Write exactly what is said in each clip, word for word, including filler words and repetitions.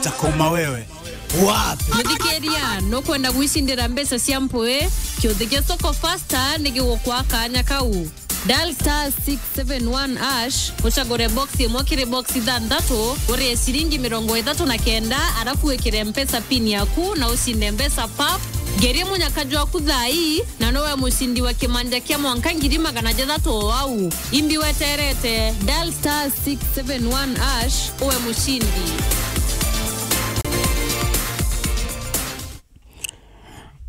Takoma wewe. Wapi? Muthikiria, nukwenda gwicindira mbeca cia mpwi? Kiuthi gia Soko Fasta ni gigukwa kanya kau. Dial star six seven one hash, ucagure box imwe kiri box ithanthatu, urie ciringi mirongo ithatu na kenda, arafu wikire Mpesa pin yaku na ucinde mbeca pap. Ngerie munyaka jwaku thaa ii, na nowe mucindi wa kimanja kia mwanka ngiri magana jathatu o au. Imbi weterete, dial star six seven one hash, uwe mucindi.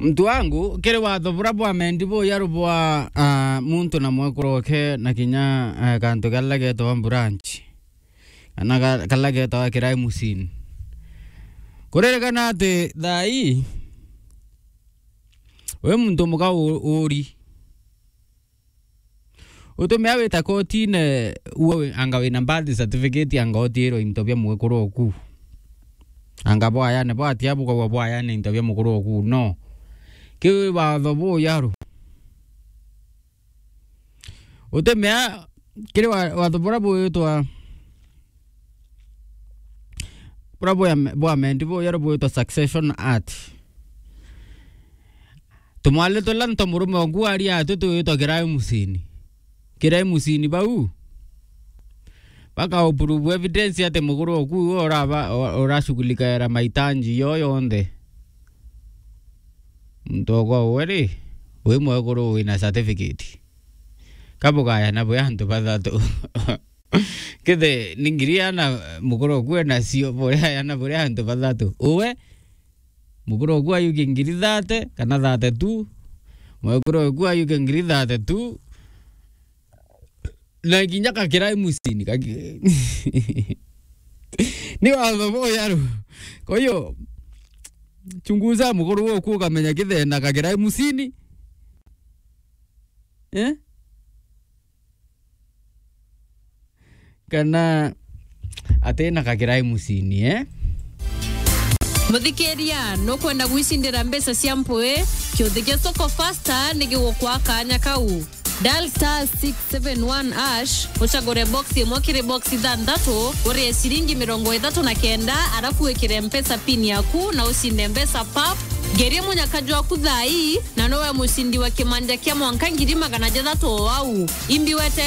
Muntu wangu, kiri watho bura bwa mendi buyaru bwa, ah, muntu na mwekuru oke na kinya, eh, kantu karia getagwa branch. Kana ka-, karia getagwa kirai musini. Kuririkana ati thaa ii, wi muntu muka u-, uri. Utumia wita kotine, uwe wi-, anga wina birth certificate, anga utiirwe into bia mwekuru oku. Anga bwayane bwatia bukauga bwayane into bia mukuru oku. No. Kiu wi watho buyaru. Utimea kiri wa-, watho bura bwitwa, bura bwa-, bwa mendi buyaru bwitwa Succession Act. Tumwali turia nto murume oku ari atu twitwa kirai musini. Kirai musini bau. Baka uprove evidence ati mukuru oku uraba, urashughulikaira mahitaji yo yonthe. Muntu okwa uwe ri, wi mwekuru wina certificate. Kabugaya na bwi antu bathatu. Kithe ni ngiri ana mukuru oku enacio, buria ana buria antu bathatu. Uwe, mukuru oku ayuke ngiri thate kana thate tu. Mwekuru oku ayuke ngiri thate tu. Na kinya kakirai musini, kaki-, ni watho buyaru. Kwa hiyo, chunguza mukuru woku ukamenya kithena kakirai musini. Eh? Kana atina kakirai musini, eh? Muthikiria, nukwenda gwicindira mbeca cia mpwi? Kiuthi gia Soko Fasta ni gigukwa kanya kau. Dial star six seven one hash, ucagure box imwe kiri box ithanthatu, urie ciringi mirongo ithatu na kenda, arafu wikire Mpesa pin yaku na ucinde mbeca pap. Ngerie munyaka jwaku thaa ii, na nowe mucindi wa kimanja kia mwanka ngiri magana jathatu o au. Imbi wete